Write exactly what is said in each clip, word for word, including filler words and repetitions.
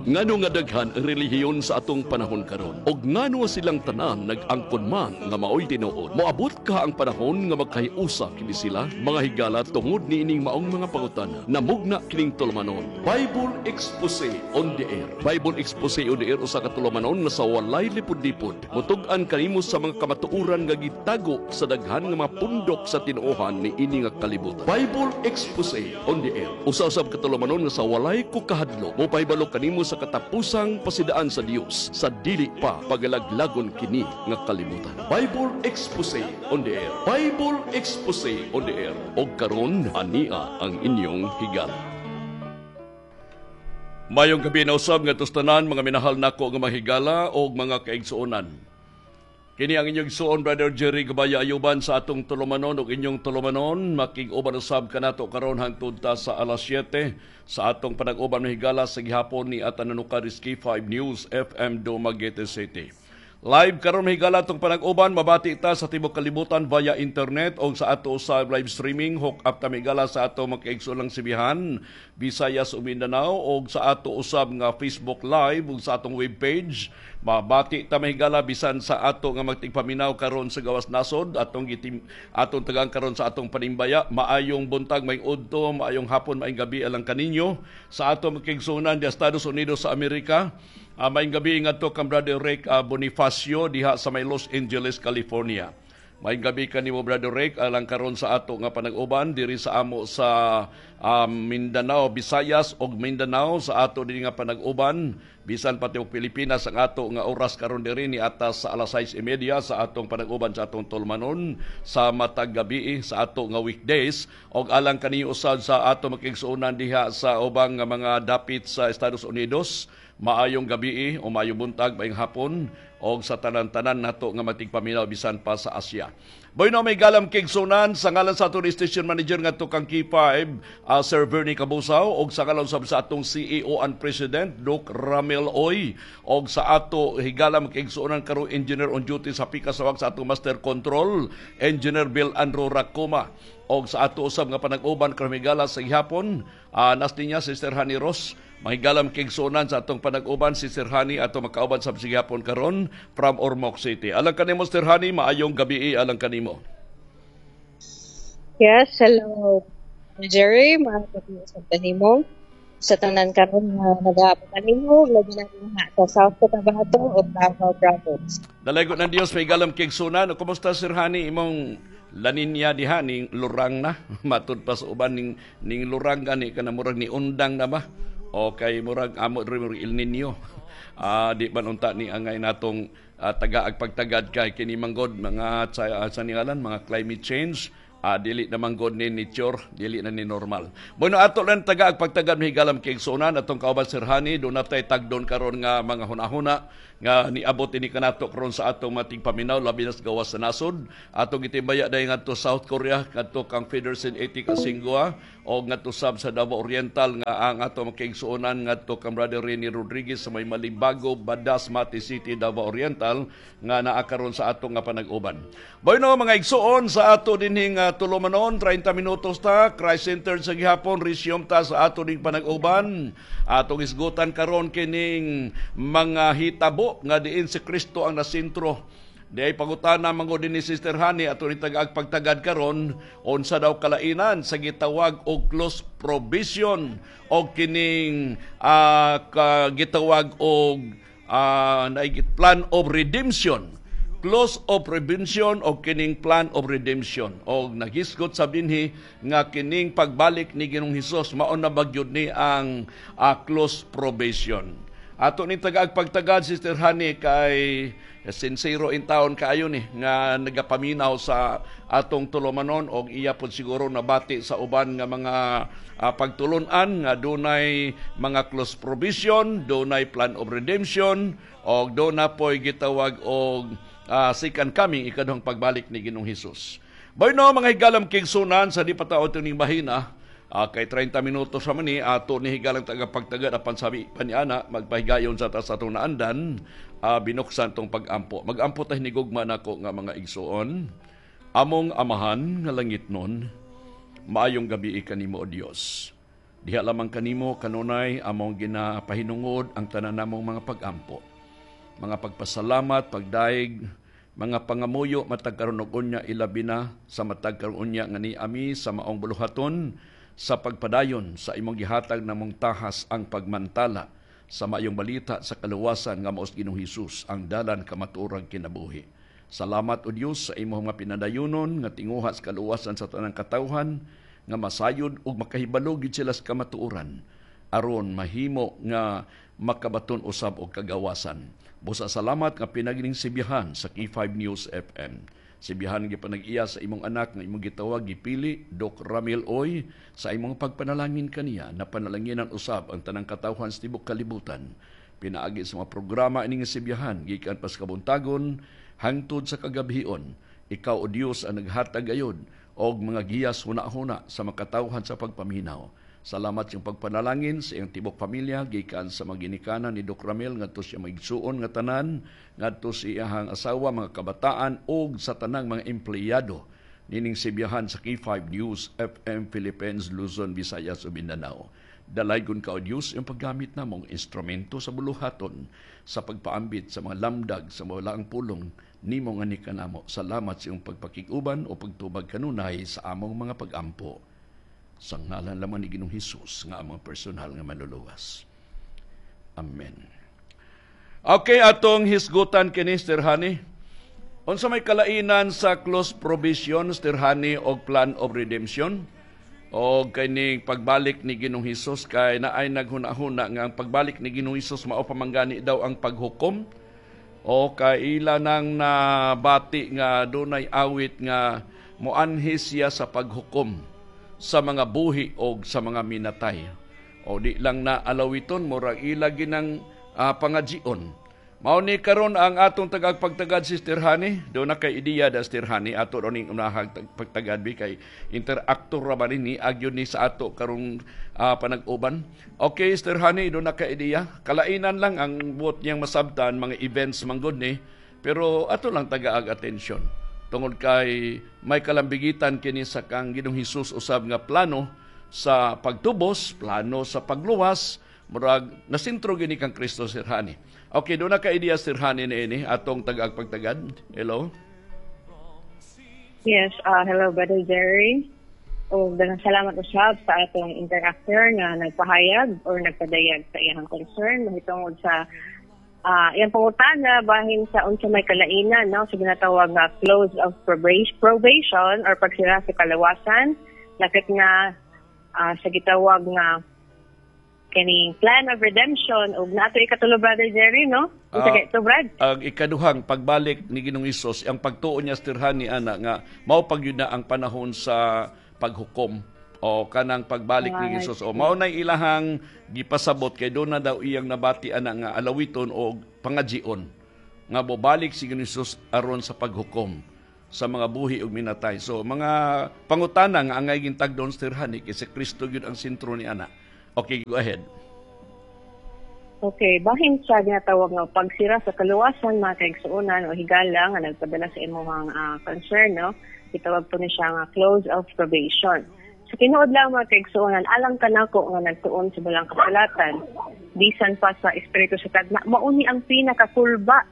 Ngano nga daghan ang relihiyon sa atong panahon karon ug ngano silang tanan nag-angkon man nga maoy tinuod? Moabot ka ang panahon nga magkahiusa kini sila, mga higala, tungod niining maong mga pangutana? Namugna kining tulumanon, Bible Expose on the Air. Bible Expose on the Air, usa ka tulumanon nga sa walay lipod-lipod mutug-an kanimo sa mga kamatuoran nga gitago sa daghan nga mga pundok sa tinuohan ni ini nga kalibutan. Bible Expose on the Air, usa-usab ka tulumanon nga sa walay ko kahadlok mopahibalo kanimo sa katapusang pasidaan sa Dios sa dili pa pagalaglagon kini nga kalibutan. Bible Expose on the Air. Bible Expose on the Air. Og karon, ania ang inyong higala. Mayong gabi na usab nga tanan, mga minahal nako nga mahigala og mga kaigsuonan. Kini ang inyong igsuon, Brother Jerry Gabaya Ayuban, sa atong tulumanon ug inyong tulumanon. Makig-uban usab kanato karon hangtod ta sa alas siyete sa atong panag-uban, mahigala, sa gihapon ni Atananuka K five News F M, Dumaguete City. Live karon, mahigala, atong panag-uban, mabati ta sa tibuok kalibutan via internet o sa ato sa live streaming. Hook up ta, mahigala, sa ato mga Sibihan, Visayas ug Mindanao o sa ato usab nga Facebook Live ug sa atong webpage. Mabati ta, mahigala, bisan sa ato nga magtigpaminaw karon sa gawas nasod, atong gitim atong tagang karon sa atong panimbaya. Maayong buntag, maayong udto, maayong hapon, maayong gabi alang kaninyo. Sa ato makigsunan di Estados Unidos sa Amerika, Uh, maayong gabi ngadto kang Brother Rick uh, Bonifacio diha sa may Los Angeles, California. Maayong gabi kanimo, Brother Rick, alang karon sa ato nga panag-uban diri sa amo sa um, Mindanao, Visayas ug Mindanao sa ato dinhi nga panag-uban bisan pati og Pilipinas. Ang ato nga oras karon diri ni atas sa alas sais y medya sa atong panag-uban sa atong tulumanon sa matag gabi sa ato nga weekdays. Og alang kaniyo usab sa ato makigsuonan diha sa ubang nga mga dapit sa Estados Unidos, maayong gabi o maayong buntag, maayong hapon og sa tanan-tanan nato nga matigpaminaw bisan pa sa Asia. Bueno, mga higalang kaigsuonan, sa ngalan sa atong station manager nga kang K five, uh, Sir Bernie Cabusaw, og sa ngalan sa atong C E O and President Doc Ramil Oy, og sa ato higalang kaigsuonan karon, engineer on duty sa Pikasawag sa atong master control, Engineer Bill Andrew Racoma, og sa ato usab nga panag-uban karon, higala, sa gihapon, uh, nas niya Sister Honey Ross. Mahigalam kaigsuonan sa atong panag-uban si Sir Honey, ato makauban sa gihapon karon from Ormoc City. Alang kanimo, Sir Honey, maayong gabi alang kanimo. Yes, hello, Jerry, maayong gabi sa kanimo. Sa tanan karon nga nagaabot kanimo, labi na dinha sa South Cotabato o Davao Province. Dalaygon ng Dios, mahigalam kaigsuonan. Kumusta, Sir Honey, imong La Niña diha? Ning lurang na matud pa sa uban, ning ning lurang gani kana, murag ni undang na ba o kay murag amo diri murag El Nino? uh, di man unta ni angay natong uh, tagaag pagtagad kay kini manggod mga sa, uh, sa ningalan mga climate change, uh, dili naman god ni nature, dili na ni normal. Bueno, ato lang tagaag pagtagad, mahigalam kaigsuonan, atong kauban Sir Hani, do natay tagdon karon nga mga hunahuna nga niabot ini kanato karon sa atong matigpaminaw, labi na sa gawas sa nasod. Atong gitimbaya dayon ngadto South Korea ngadto kang Federsen Etika Singua o ngadto sab sa Davao Oriental nga ang ato makaigsuonan ngadto kang Brother Rene Rodriguez sa may Malibago, Badas, Mati City, Davao Oriental nga naa karon sa atong nga panag-uban. Bueno, mga igsuon, sa ato dinhing uh, tulumanon, trenta minutos ta, Christ Centered sa gihapon, resume ta sa ato ding panag-uban. Atong isgutan karon kining mga hitabo nga diin si Kristo ang nasentro. Di ay pangutana manggod ni Sister Honey, ato ni tagaag pagtagad karon, unsa daw kalainan sa gitawag og close probation o kining uh, gitawag og uh, plan of redemption? Close of prevention o kining plan of redemption, o naghisgot sa dinhi nga kining pagbalik ni Ginoong Hesus, mao na bagyod ni ang uh, close probation. Ato ni tagaag pagtagad, Sister Honey, kay sincero in town kaayo ni nga nagapaminaw sa atong tulumanon og iya pod siguro nabati sa uban nga mga uh, pagtulunan nga dunay mga close probation, dunay plan of redemption og duna poy gitawag og uh, second coming, ikaduhang pagbalik ni Ginoong Hesus. Bueno, mga higalam kaigsuonan, sa di pa taon ning mahina, uh, kay trenta minutos sa ni ato ni higalang tagapagtagad, apan sabi paniana magpahigayon sa ta sa atong naandan, uh, binuksan tong pag-ampo. Magampo ta hinigugma nako nga mga igsuon. Among Amahan nga langitnon, maayong gabi kanimo, O Dios. Diha lamang kanimo kanunay among ginapahinungod ang tanan namong mga pagampo, mga pagpasalamat, pagdaig, mga pangamuyo matag karon ug unya, ilabi na sa matag karon unya nga niami sa maong buluhaton sa pagpadayon sa imong gihatag namong tahas, ang pagmantala sa maayong balita sa kaluwasan nga mao si Ginoong Hesus ang dalan, kamatuoran, kinabuhi. Salamat, O Dios, sa imong mga pinadayunon nga tinguha sa kaluwasan sa tanang katawhan nga masayod ug makahibalo gid sila sa kamatuoran aron mahimo nga makabaton usab og kagawasan. Busa salamat nga pinagining Sibihan sa K five News F M. Sibihan gi panag-iya sa imong anak nga imong gitawag, gipili, Doc Ramil Oy, sa imong pagpanalangin kaniya na panalanginan usab ang tanang katawhan sa tibok kalibutan. Pinaagi sa mga programa ining Sibihan gikan pa sa kabuntagon hangtod sa kagabhion. Ikaw, O Dios, ang naghatag gayod og mga giyas huna-huna sa makatawhan sa pagpaminaw. Salamat sa pagpanalangin sa iyang tibok pamilya gikan sa mga ginikanan ni Doc Ramil ngadto sa mga igsuon nga tanan, ngadto sa iyahang asawa, mga kabataan ug sa tanang mga empleyado nining Sibihan sa K five News F M Philippines, Luzon, Visayas ug Mindanao. Dalaygon ka, O Dios, yung paggamit namong instrumento sa buluhaton sa pagpaambit sa mga lamdag sa mga pulong nimo nga ni kanamo. Salamat sa iyong pagpakig-uban o pagtubag kanunay sa among mga pagampo. Sa ngalan lamang ni Ginoong Hesus nga among personal nga manluluwas. Amen. Okay, atong hisgutan kini, Sir Hani. Unsa may kalainan sa close probation, Sir Hani, og plan of redemption? O kining pagbalik ni Ginoong Hesus, kay naay naghuna-huna nga ang pagbalik ni Ginoong Hesus mao pamanggani daw ang paghukom, o kay ila nang nabati nga dunay awit nga moanhi siya sa paghukom sa mga buhi o sa mga minatay. O di lang na alawiton, murag ila ginang uh, pangajion. Mao ni karon ang atong tagag pagtagad, Sister Hani. Do na kay ideya da, Sister Hani, ato ro ning unahag pagtagad bi kay interactor ra ba ni agyon ni sa ato karong uh, panag-uban. Okay, Sister Hani, do na kay ideya. Kalainan lang ang buot niyang masabtan, mga events manggod ni, pero ato lang tagaag atensyon tungod kay may kalambigitan kini sa kang Ginoong Hesus usab nga plano sa pagtubos, plano sa pagluwas, murag nasintro gini kang Kristo, Sir Hani. Okay, do na ka ideya, Sir Hani, ni ini atong tagag pagtagad. Hello. Yes, uh, hello, Brother Jerry. O daghang salamat usab sa atong interactor nga nagpahayag or nagpadayag sa iyang concern mahitungod sa uh, iyang pangutana bahin sa unsa may kalainan, no, sa ginatawag nga close of probation or pagsira sa kalawasan, lakit na uh, sa gitawag nga kining plan of redemption ug nato ikatulo, Brother Jerry, no? Unsa uh, kay Brad? Ang ikaduhang pagbalik ni Ginoong Hesus, ang pagtuo niya, Sister Hani, ana nga mao pag na ang panahon sa paghukom o kanang pagbalik ni Hesus. O mao nay ilahang gipasabot kay do na daw iyang nabati ana nga alawiton o pangajion nga bobalik si Ginoong Hesus aron sa paghukom sa mga buhi ug minatay. So mga pangutana nga angay gintagdon, Sister Hani, kay si Kristo gyud ang sentro ni ana. Okay, go ahead. Okay, bahin sa ginatawag nga pagsira sa kaluwasan, mga kaigsuonan o higala nga nagpadala sa imong uh, concern, no? Gitawag po ni siya nga close of probation. Sa tinuod lang, mga kaigsuonan, alang kanako nga nagtuon sa Balaang Kasulatan, bisan pa sa espiritu sa tagna, mauni ang pinakakulba.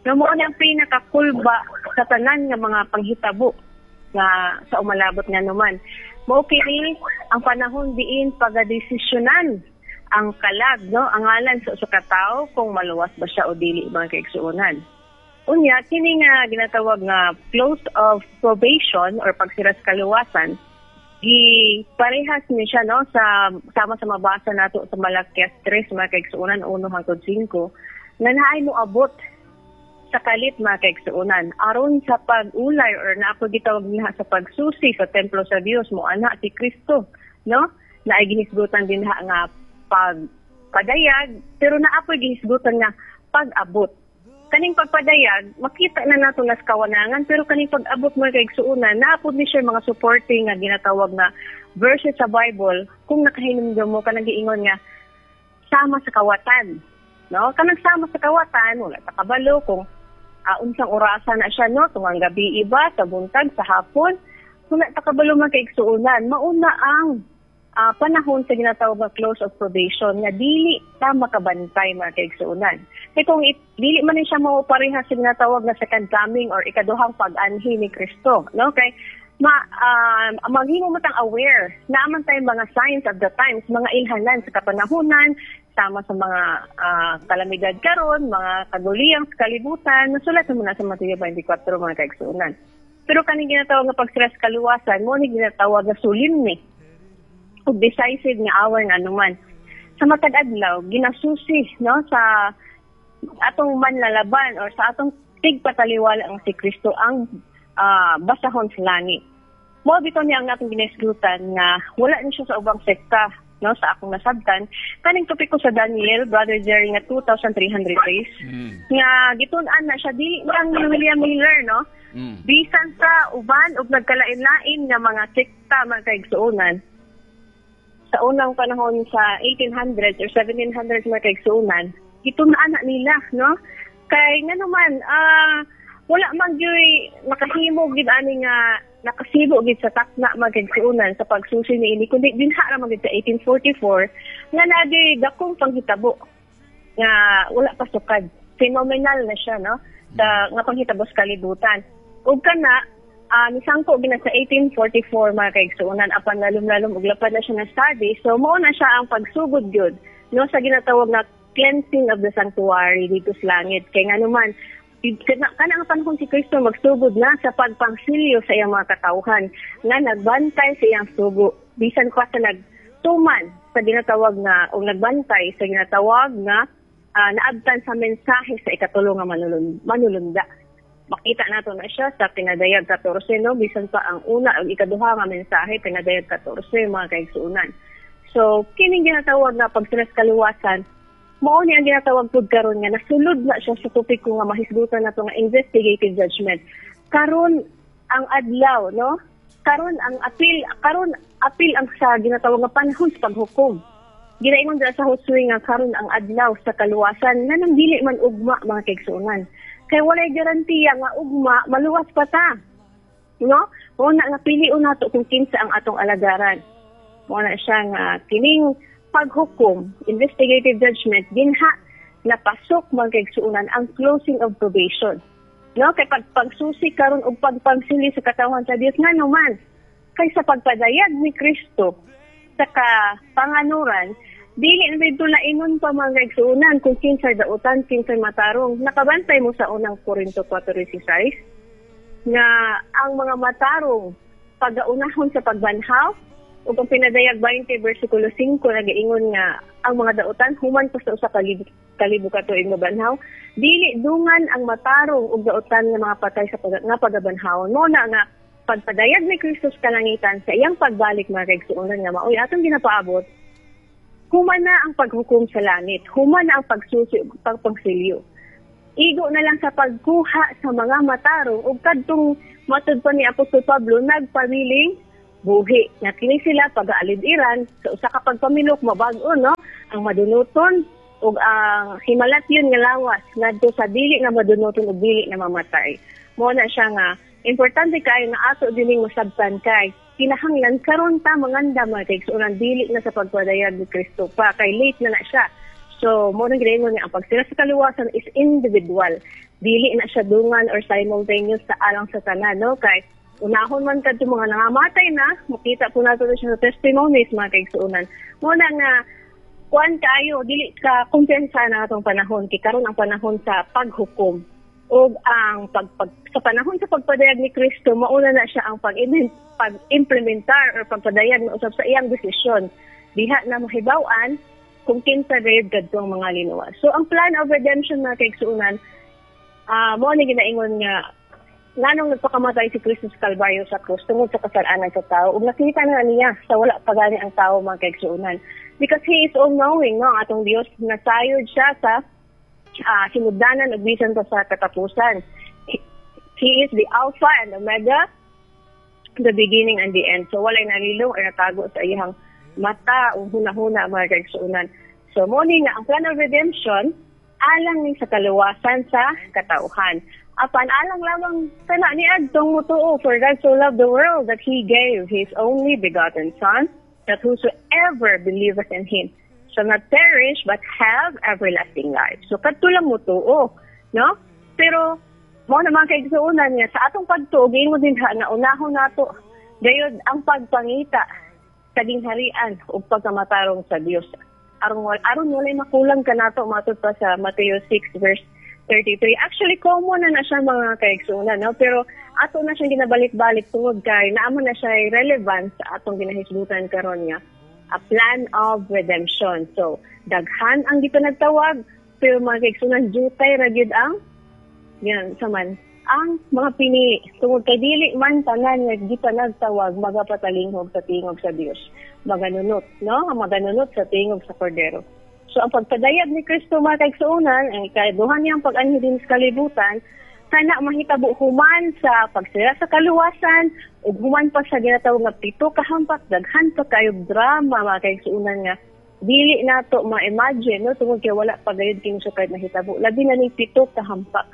No, mauni ang pinakakulba sa tanan nga mga panghitabo nga sa umalabot nga naman. Mao kini ang panahon diin pagadesisyonan ang kalag, no, ang ngalan sa usa ka tawo kung maluwas ba siya o dili, mga kaigsuonan. Unya kini nga ginatawag nga close of probation or pagsira sa kaluwasan, gi parehas ni siya, no, sa sama sa mabasa nato sa Malakias tres, mga kaigsuonan, uno hangtod singko, nga naay moabot sa kalit, mga kaigsuonan, aron sa pag-ulay or naa po gitawag niya sa pagsusi sa templo sa Dios, mo ana si Kristo, no, naay gihisgutan din ha nga pagpadayag, pero naa po gihisgutan nga pag-abot. Kaning pagpadayag makita na nato nas kawanangan, pero kaning pag-abot, mga kaigsuonan, naa pod ni siya mga supporting nga ginatawag nga verses sa Bible. Kung nakahinumdum mo, kanang giingon nga sama sa kawatan, no, kanang sama sa kawatan, wala ta kabalo kung uh, unsang orasa na siya, no, tungang gabi iba, sa buntag, sa hapon, wala ta kabalo, mga kaigsuonan. Mauna ang ah, panahon sa ginatawag nga close of probation nga dili ta makabantay, mga kaigsuonan. Kay kung it, dili man ni siya mo pareha sa ginatawag nga second coming or ikaduhang pag-anhi ni Kristo, no? Kay ma um, maghimo mo tang aware naa man tay mga signs of the times, mga ilhanan sa kapanahunan, sama sa mga ah, kalamidad karon, mga kaguliyang sa kalibutan, nasulat mo na sa Mateo twenty-four, mga kaigsuonan. Pero kaning ginatawag nga pagsira sa kaluwasan, mao ni ginatawag nga solemn ug decisive nga hour nga anuman. Sa matag adlaw, ginasusi, no, sa atong manlalaban or sa atong tigpataliwala ang si Kristo ang ah, basahon sa langit. Mao bitaw niya ang atong ginisgutan nga wala ni siya sa ubang sekta, no, sa akong nasabtan kaning topiko sa Daniel, Brother Jerry, nga two thousand three hundred days Mm. nga gitun-an na siya dili lang ni William Miller, no, Mm. bisan sa uban ug nagkalain-lain nga mga sekta, mga kaigsuonan, sa unang panahon sa eighteen hundreds or seventeen hundreds, mga kaigsuonan, gitun-an na nila, no, kay nga naman ah wala man gyuy nakahimo gid ani nga nakasibo gid sa takna, mga kaigsuonan, sa pagsusi niini, kundi dinha ra man gid sa eighteen forty-four nga naa dakong panghitabo nga wala pa sukad, phenomenal na siya, no, sa nga panghitabo sa kalibutan. Ug kana ah nisangko gina sa eighteen forty-four, mga kaigsuonan, apan lalom-lalom ug lapad na siya nga study. So mao na siya ang pagsugod gyud, no, sa ginatawag na cleansing of the sanctuary dito sa langit, kay nga naman kana kana ang panahon si Kristo magsugod na sa pagpangsilyo sa iyang mga katawhan nga nagbantay sa iyang sugo bisan pa sa nagtuman sa ginatawag nga o nagbantay sa ginatawag nga ah, naabtan sa mensahe sa ikatulo nga manulun, manulunda. Makita nato na siya sa Pinadayag labing katose, no, bisan pa ang una ug ikaduha nga mensahe, Pinadayag labing katose, mga kaigsuonan. So kining ginatawag nga pagsira sa kaluwasan, mao ni ang ginatawag pud karon nga nasulod na siya sa topiko nga mahisgutan nato nga investigative judgment. Karon ang adlaw, no, karon ang apil, karon apil ang sa ginatawag nga panahon sa paghukom. Ginaingon dira sa Josue nga karon ang adlaw sa kaluwasan, nga nang dili man ugma, mga kaigsuonan, kay walay garantiya nga ugma maluwas pa ta, no? Mao na nga pilion nato kung kinsa ang atong alagaran. Mao na siya nga kining paghukom, investigative judgment, dinha napasok, mga kaigsuonan, ang closing of probation, no, kay pag pagsusi karon og pagpangsili sa katawhan sa Dios, nga naman kay sa pagpadayag ni Kristo sa kapanganuran, dili na dito lainon pa, mga kaigsuonan, kung kinsay dautan, kinsay matarong. Nakabantay mo sa Unang Korinto kwatro sisais nga ang mga matarong pagaunahon sa pagbanhaw, ug ang Pinadayag baynte bersikulo singko nagaingon nga ang mga dautan human pa sa usa ka libo, kalibo ka tuig mabanhaw. Dili dungan ang matarong ug dautan nga mga patay sa pag, nga pagabanhaw. Mao na nga pagpadayag ni Kristo sa kalangitan sa iyang pagbalik, mga kaigsuonan, nga maoy atong ginapaabot, human na ang paghukom sa langit, human na ang pagsusi ug pagpangsilyo. Igo na lang sa pagkuha sa mga matarong ug kadtong matud pa ni Apostol Pablo nagpabiling buhi. Nga kini sila pag-aalid-iran sa usa ka pagpamilok, mabag-o, no, ang madunuton ug ang himalatyon nga lawas ngadto sa dili nga madunuton ug dili na mamatay. Mao na siya nga importante kaayo nga ato dining masabtan, kay kinahanglan karon ta manganda, mga kaigsuonan, dili na sa pagpadayag ni Kristo pa, kay late na na siya. So, mao nang ginaingon nga ang pagsira sa kaluwasan is individual. Dili na siya dungan or simultaneous sa alang sa tanan, no? Kay unahon man kadto mga nangamatay na, makita po nato na siya sa testimonies, mga kaigsuonan. Mao na nga kuan kaayo, dili ka kumpiyansa na atong panahon, kay karon ang panahon sa paghukom ug ang pag, pag sa panahon sa pagpadayag ni Kristo, mauna na siya ang pag pag-implementar or pagpadayag na usab sa iyang desisyon diha na mahibaw-an kung kinsa gayud kadto ang mga linuwas. So ang plan of redemption, mga kaigsuonan, ah mao ni ginaingon nga nganong nagpakamatay si Kristo sa Kalbaryo sa krus tungod sa kasalanan sa tao, ug nakita na niya sa wala pa gani ang tao, mga kaigsuonan, because He is all knowing, no, ang atong Dios. Nasayod siya sa uh, sinugdanan ug bisan pa sa katapusan. He, he is the Alpha and Omega, the beginning and the end. So walay nalilong or natago sa iyang mata o hunahuna, mga kaigsuonan. So mao ni nga ang plan of redemption alang ni sa kaluwasan sa katauhan. Apan alang lamang kana ni adtong mutuo, for God so loved the world that He gave His only begotten Son, that whosoever believeth in Him shall not perish but have everlasting life. So kadto lang mo tuo, no? Pero mao naman kay igsuonan nga sa atong pagtuo, giingon din ha nga unahon nato gayud ang pagpangita sa gingharian ug pagkamatarong sa Dios. Aron aron walay makulang kanato, matud pa sa Mateo six verse thirty-three. Actually, common na na siya, mga kaigsuonan, no? Pero ato na siyang ginabalik-balik tungod kay naa man na siya relevant sa atong ginahisgutan karon nga a plan of redemption. So, daghan ang gipanagtawag, pero, mga kaigsuonan, jutay ra gyud ang yan sa man ang mga pinili tungod kay dili man tanan nga gipanagtawag magapatalinghog sa tingog sa Dios, maganunot, no, maganunot sa tingog sa Kordero. So ang pagpadayag ni Kristo, mga kaigsuonan, ang ikaduha niyang pag-anhi din sa kalibutan, kana mahitabo human sa pagsira sa kaluwasan ug human pa sa ginatawag nga pito ka hampak. Daghan pa kayo drama, mga kaigsuonan, nga dili nato ma-imagine, no, tungod kay wala pa gayud kini siya kahit nahitabo, labi na ning pito ka hampak,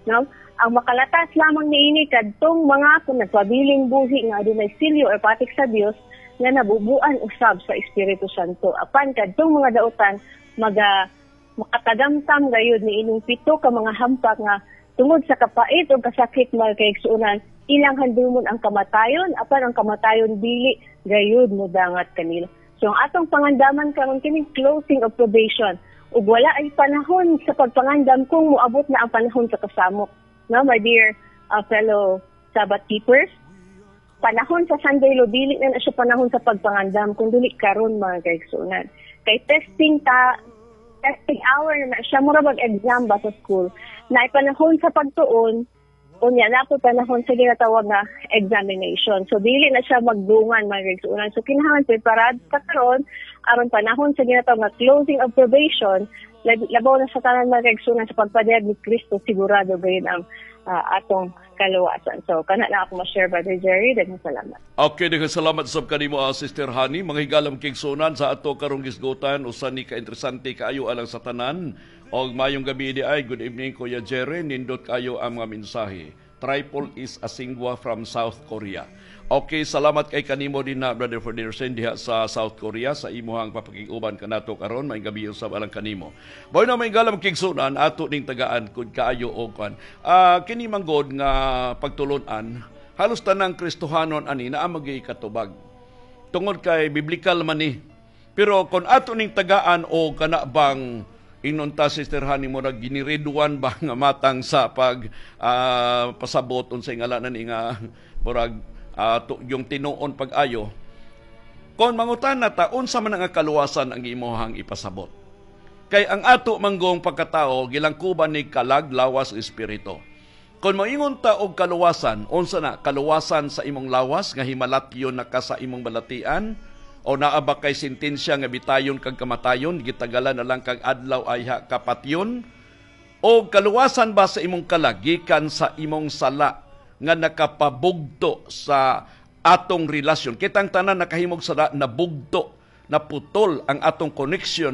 no? Ang makalatas lamang niini kadtong mga kung nagpabiling buhi nga adunay silyo or patik sa Dios nga nabubuan usab sa Espiritu Santo. Apan kadtong mga dautan maga makatagamtam gayud ni ining pito ka mga hampak nga tungod sa kapait o kasakit, mga kaigsuonan, ilang handumon ang kamatayon, apan ang kamatayon dili gayud modangat kanila. So ang atong pangandaman karon kining closing of probation ug wala ay panahon sa pagpangandam kung moabot na ang panahon sa kasamok. No, my dear uh, fellow Sabbath keepers, panahon sa Sunday law, dili na na siya panahon sa pagpangandam kung dili karon, mga kaigsuonan. Kay testing ta testing hour na na siya, mura bag exam ba sa school. Na panahon sa pagtuon, unya na po panahon sa ginatawag na examination. So dili na siya magdungan, mga kaigsuonan. So kinahanglan preparad ka karon aron panahon sa ginatawag nga closing of probation, labaw na sa tanan, mga kaigsuonan, sa pagpadayag ni Kristo, sigurado gayud ang uh, atong kaluwasan. So kana na ako ma-share, Brother Jerry. Daghang salamat. Okay, daghang salamat sa kanimo, uh, Sister Honey. Mga higalang kaigsuonan, sa ato karong gisgutan, usa ni ka interesante kaayo alang sa tanan. Og mayong gabi di ay, good evening, Kuya Jerry, nindot kayo ang mga mensahe. Triple is Asingwa from South Korea. Okay, salamat kay kanimo din na, Brother Ferdinand, diha sa South Korea sa imuhang papakig-uban kanato karon. May gabi usab alang kanimo. Boy na may galam kigsunan ato ning tagaan kung kaayo og kan. Uh, kini manggod nga pagtulunan, halos tanang Kristohanon ani naa magay katubag. Tungod kay biblical man ni. Pero kung ato ning tagaan o kana bang ingon ta, Sister Honey, mo ginireduan ba nga matang sa pag uh, pasabot unsay ngalanan ni nga murag uh, yung tinuon pag-ayo, kon mangutan na ta unsa man ang kaluwasan ang imuhang ipasabot, kay ang ato manggong pagkatao gilangkuban ni kalag, lawas, espiritu. Kon moingon ta og kaluwasan, unsa na kaluwasan sa imong lawas nga himalatyon na ka sa imong balatian, o naa ba kay sentensya nga bitayon kag kamatayon, gitagalan na lang kag adlaw ayha kapatyon, o kaluwasan ba sa imong kalag gikan sa imong sala nga nakapabugto sa atong relasyon? Kitang tanan nakahimog sala, nabugto, naputol ang atong connection.